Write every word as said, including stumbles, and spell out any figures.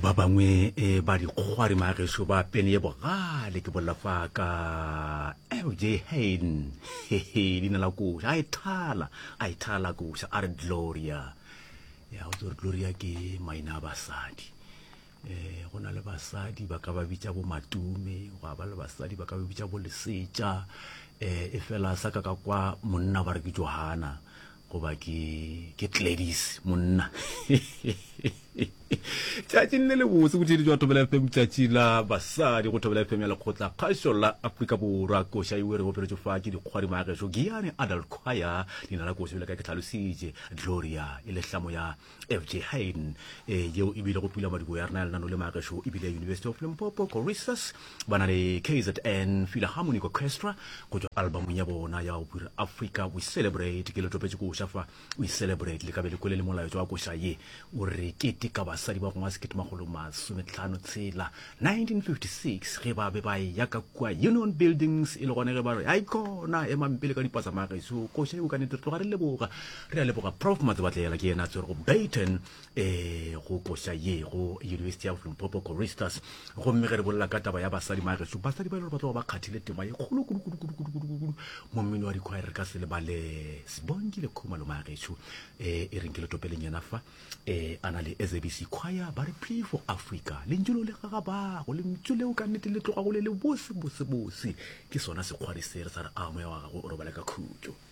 Ba bangwe eh, ba dikgwari magešo ba pene ye bogale ke bolela fa ka F J Hayden. Hehe, leina la koša a e thala, a e thala koša a re Gloria. Ya go tsore Gloria ke maina a basadi. eh go na le basadi ba ka ba bitša bo Matume, gwa ba le basadi ba ka ba bitša bo Lesetša, eh e fela sa ka ka kwa monna ba re ke Johanna goba ke ke Gladys monna. Tšatšing le lebotse botheletši wa Thobela F M, tšatši la basadi go Thobela F M ya Lekgotla Kgašo la Afrika Borwa. Koša e re operetšwe fa ke dikgwari magešo Giyani Adult Choir. Leina la koša bjale ka ke tlhalositše, Gloria, e le hlamo ya F J Hayden, e yeo e bile go pula madibo ya rena ya lenano le magešo ebile University of Limpopo Choristers ba na le K Z N Philharmonic Orchestra go tšwa albumong ya bona ya go Africa We Celebrate. Ke le topetše koša fa We Celebrate, le ka be le kwele le molaetšo wa koša ye o re keteka basadi ba gongwe sekete makgolo masometlhano tshela nineteen fifty-six ge ba be ba ya ka kua Union Buildings, e le gone ge ba re ai kona emang pele ka dipasa mageso. Koša eo ka nnete re tloga re leboga, re a leboga Prof Matsebatlela, ke yena a tswere go baton um go koša ye go University of Limpopo Choristers. Gomme ge re bolela ka taba ya basadi mageso, basadi ba e le gore ba tloga ba kgathile tema ye kgolo kudu kudu kudu kudu kudu kudu mo mmino wa dikhwaere, re ka se lebale Sibongile Khumalo mageso. um e reng ke le topeleng yena fa um a na le S A B C Choir, ba re Plea for Africa. Lentšu leo le gagabago, lentšu leo ka nnete le tloga go le le bose bose bose, ke sona sekgwari se re sa re a moya wa gago o robale ka khutšo.